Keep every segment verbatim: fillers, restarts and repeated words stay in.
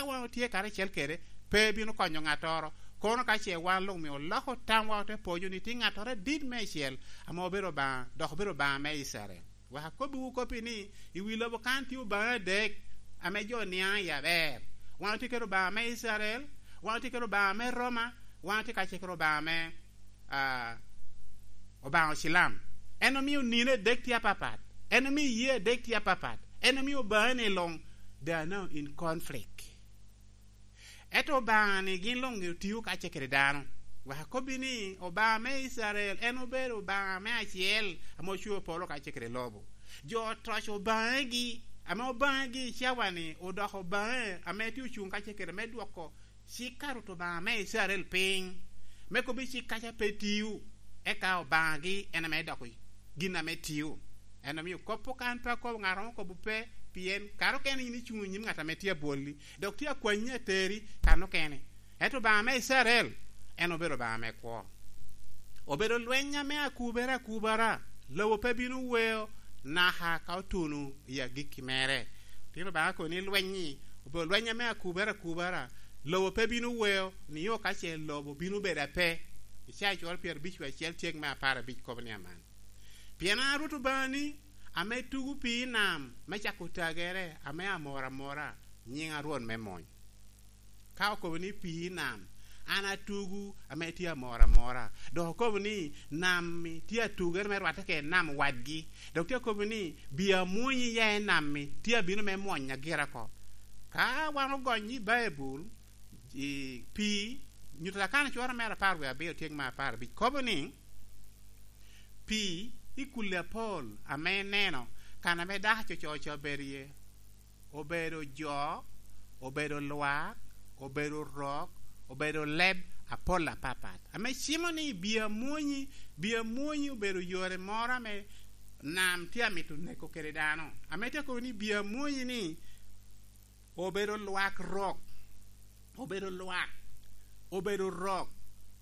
wan otye karacel kede, pe bino konyo ŋattoro. Kono ka ce wan luŋ mio oloko tamwa, ote poyo ni tye ŋattoro adit meicel ame obedo Obaŋa, dok obedo Obaŋa me Icrael. Wek akobbiwu kop-pi ni, i wi lobo kan tye obaŋa adek ame jo niaŋ i aber. Wan otye kede Obaŋa me Icrael, wan otye kede Obaŋa me Roma, wan otye kacel kede Obaŋa me, ah, Obaŋa Ocilam. En omio nino adek tye apapat. En omio iyee adek tye apapat. En omio obaŋani luŋ, they are now in conflict. Ento Obaŋa-ni gin luŋ otio kacel kede dano. Wek akobbi ni, Obaŋa me Icrael en obedo Obaŋa me acel ame ocweo polo kacel kede lobo. Jo otoco Obaŋagi, ame Obaŋagi i cawa-ni odoko Obaŋa ame tye ocuŋ kacel kede me dwoko cik a Rwot Obaŋa me Icrael piny, me kobbi cik kaca pe tio, eka Obaŋagi en ame doko gin ame tio. En omio kop okan pe akobo, ŋat romo kobo pe, pien kare okene yin icuŋ i nyim ŋat ame tye abwolli, dok tye akwanyi ateri kan okene. Ento Obaŋa me Icrael, en obedo Obaŋa me kwo. Obedo lweny ame akubere akubara, lobo pe bino weo naka ka otuno i agikki mere. Pien Obaŋa kono ni lweny-nyi obedo lweny ame akubere akubara, lobo pe bino weo, nio ka ce lobo bino bedo ape. Icaya cwalo pyerabic wie acel tyek me apar abic kobo ni aman. Pien an a Rwot Obaŋani, ame tugo pii i nam me cako tagere, ame amoro amora, nyiŋa Rwot me mony. Ka okobo ni pii i nam, an atugo ame tye amoro amora. Dok okobo ni nam-mi tye atugere me rwatte kede nam wadgi. Dok tye akobo ni bi amwonyi ya i nam-mi tye abino me mwonya gira oko. Ka wan ogonyo i Baibul, i pii, Nyuto Lakana cwero mere apar wie abiro tyek me apar abic kobo ni, pii i kulli apol ame ineno kan ame dako coco obedo iye, obedo jo, obedo lwak, obedo rok, obedo leb apol apapat. Ame cimo ni bi amwonyi, bi amwonyi obedo yore moro ame nam tye amito neko kede dano. Ame tye akobo ni bi amwonyi ni obedo lwak rok, obedo lwak, obedo rok,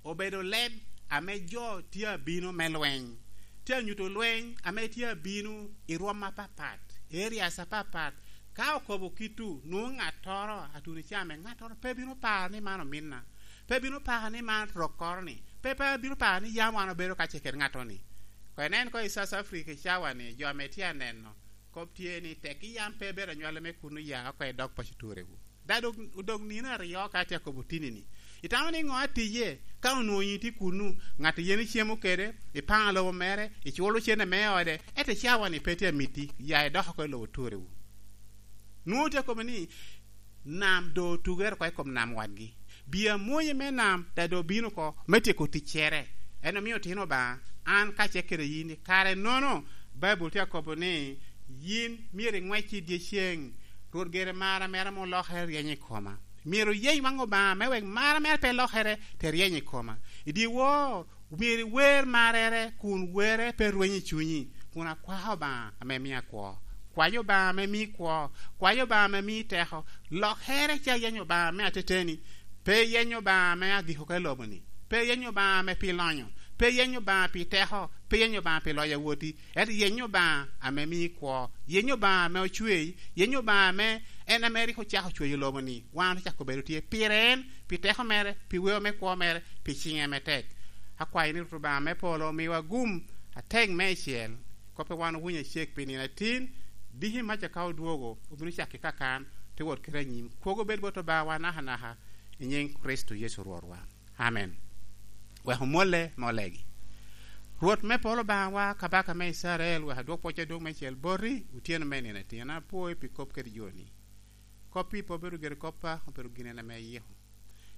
obedo leb ame jo tye abino me lweny. Tye anyuto lweny ame tye abino i rwom apapat, i areas apapat. Ka okobo kittu, nwoŋo ŋattoro atuno i caa me ŋattoro pe bino paro ni man ominna, pe bino paro ni man rokkoro-ni, pe, pe bino paro ni yam wan obedo kacel kede ŋattoro-ni. Koŋ inen koŋ i South Africa i cawa-ni, jo ame tye aneno, kop tye ni tekki yam pe ibedo anywale me kunnu, ya oko idok paco turewu. Da dok, odok nino aryo ka atye akobo tini-ni. Itamo ni ŋo atije ka onwoŋo yin tye kunnu, ŋat a yen icemo kede, ipaŋo lobo mere, iculo cene me ode, ento i cawa-ni pe tye amiti, ya idok oko i lobo turewu. Nwoŋo tye akobo ni, nam doŋ otugere oko i kom nam wadgi. Bi amwonyi me nam, da doŋ obino oko me tyeko ticcere. En omio otino Obaŋa, an kacel kede yin i kare-nono, Baibul tye akobo ni, yin myero iŋwec i dyecceng, Rwot gire mara mere ame olokere ryeny i koma. Myero iyeny waŋ Obaŋa me wek mara mere pe lokere te ryeny i koma. I dyewor, myero iwer marrere kun werre pe rweny i cunyi, kun akwako Obaŋa ame mia kwo. Kwayo Obaŋa ame mii kwo, kwayo Obaŋa ame mii teko, lokere ca yeny Obaŋa me ateteni, pe yeny Obaŋa me agiko ka lobo-ni, pe yeny Obaŋa me pi lonyo, pe yeny Obaŋa pi teko, pe yeny Obaŋa pi loyo awoti, ento yeny Obaŋa ame mii kwo, yeny Obaŋa ame ocwei, yeny Obaŋa ame en ame rik ocako cweyo lobo-ni, wan ocako bedo tye pire en, pi teko mere, pi weo me kwo mere, pi ciŋe me tek. Akwayo ni Rwot Obaŋa me polo omiwa gum atek meicel, kop a wan owinyo acek pi nino atin, diki maca ka odwogo, obino cako i kakan, te wot kede anyim. Kwogo bed bot Obaŋawa nakanaka, i nyiŋ Kricito Yecu Rwotwa. Amen. Wek omwolle me olegi. Rwot me polo Obaŋawa, Kabaka me Icrael, wek adwok pwoc adwoŋ meicel boti, otyeno me nino atin. An apwoi pi kop kede joni. Kop-pi pe obedo gire koppa, obedo gin en ame iyiko.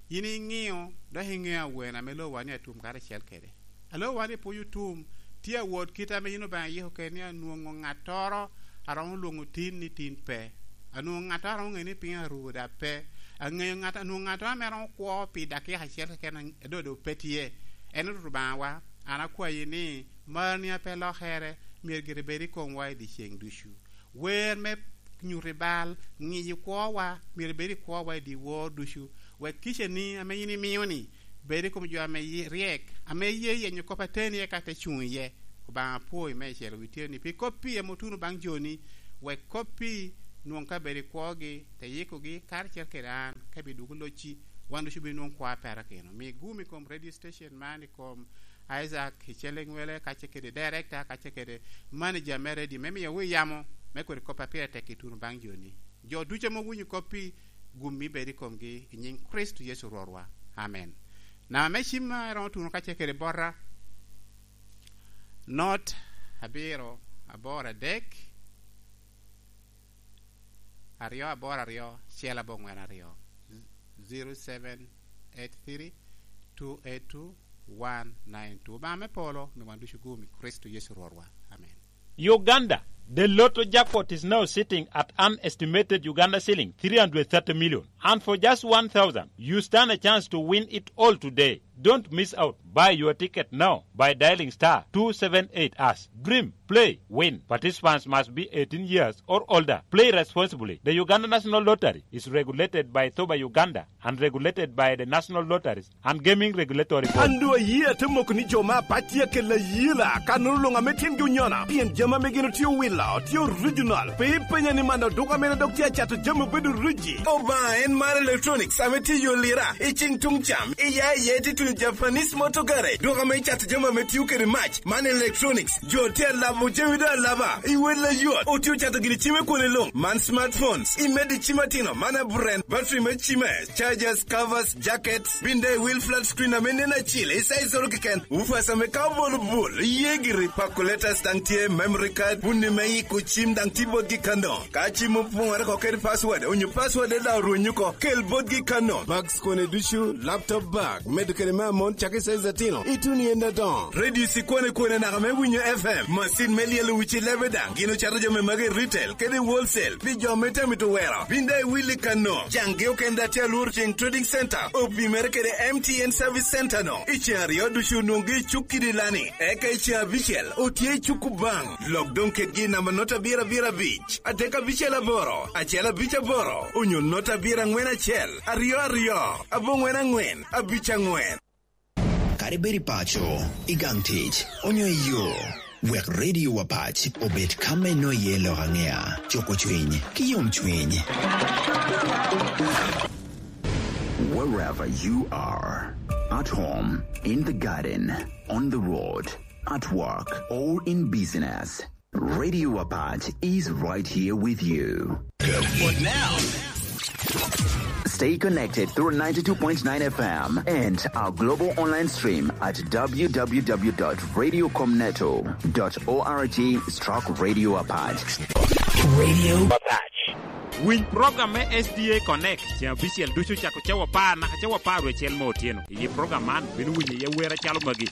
Yin iŋeo, dok iŋeo awene ame lowa ni atum karacel kede. Alowa ni pwony otum, tye awot kite ame yin Obaŋa iyiko kede ni anwoŋo ŋattoro a romo lwoŋo tin ni tin pe. Anwoŋo ŋattoro a romo ŋeo ni piny aruu daŋ pe. Aŋeo ŋat, anwoŋo ŋattoro ame romo kwo pi dakika acel keken, a doŋ doŋ pe tye. En Rwot Obaŋawa, an akwayi ni, marni a pe lokere myero gire bed i komwa i dyeceŋ ducu. Wer me nyuto i bal, ŋiyo kwowa, myero bed i kwowa i dyewor ducu, wek kicani ame yin imio-ni bed i kom jo ame ye-, ryek, ame ye yenyo kop ateni eka te cuŋ iye. Obaŋa apwoi meicel wi tyeni pi kop-pi ame otuno baŋ joni, wek kop-pi nwoŋ kabedo i kwogi, te yikogi, karacel kede an, ka bi dwogo locci, wan ducu bi nwoŋ kwa perakino. Mi gum i kom radio station man, i kom Isaac, i Cellingwele, kacce kede director, kacce kede manager me radio, me miyowu yamo, me kodi kop a pire tek ituno baŋ joni. Jo ducu ame owinyo kop-pi, gum mi bed i komgi, i nyiŋ Kricito Yecu Rwotwa. Amen. Namba me cim ma iromo tuno kacce kede bota, not abiro aboro adek, aryo aboro aryo, acel aboŋwen aryo, zero seven eight three two eight two one nine two. Obaŋa me polo, mi wan ducu gum i Kricito Yecu Rwotwa. Amen. Uganda, the lotto jackpot is now sitting at an estimated Uganda shilling three hundred thirty million. And for just one thousand, you stand a chance to win it all today. Don't miss out. Buy your ticket now by dialing star two seven eight hash. Dream, play, win. Participants must be eighteen years or older. Play responsibly. The Uganda National Lottery is regulated by thoba Uganda and regulated by the National Lotteries and Gaming Regulatory Board. An doŋ ayie ate moko ni jo me apac tye akelo ayela, kannono luŋ ame tyengi onyono, pien jami ame gin otye owilo tye original. Pe ipenya ni man oduka mene dok tye acato jami obedo riji. Obaŋa en mar electronics ame tye i yo lira, i cing tuŋ cam, iya iye tye tuno Japanese motor garage, duka ame cato jami ame tio kede mac. Man electronics, jo tye alabo jami doŋ alaba, i wel ayot, otye ocato gini cime kwone luŋ. Man smartphones, imedo i cim atino, man aburen, battery me cime, chargers, covers, jackets, bin daŋ i wil flat screen ame nen acil, i size oro keken, woofers ame ka obolo bul, iye giri, calculators daŋ tye, memory card, bunni me yiko cim daŋ tye botgi kano. Ka cim opoŋere oko kede password, onyo password daŋ orwenyo oko, kel botgi kano. Bags kone ducu, laptop bag, medo kede me amon, cakki size atino, ituno i en adoŋo. Radio cikwane kwane naka me winyo F M, macin me lyelo wici lebe daŋ, gin ocato jami magi i retail kede i wholesale pi jo me tamito wero. Bin daŋ iwil i kano. Caŋgi okende daŋ tye alworo ceŋ Trading Center, opimere kede M T N Service Center no. I ceŋ aryo ducu onwoŋgi i cuk kidi lani. Eka i ceŋ abicel, otye i cuk Obaŋ. Lok doŋ kedgi i namba nota abiro abiro abic, adek abicel aboro, acel abic aboro, onyo nota abiro aŋwen acel, aryo aryo, aboŋwen aŋwen, abic aŋwen. Kadi bed i paco, i gang tic, onyo i yo, wek Radio Apac obed ka me nwoŋo iye lok aŋea, cuko cwiny, ki yomcwiny. Wherever you are, at home, in the garden, on the road, at work, or in business, Radio Apac is right here with you. Good. But now, stay connected through ninety-two point nine F M and our global online stream at w w w dot radio com neto dot org stroke radio apac. Radio Apac. Winy program me S D A Connect, ceŋ abicel ducu cako cawa apar naka cawa apar wiye acel me otyeno. I program man, bino winyo iye wer acalo magi.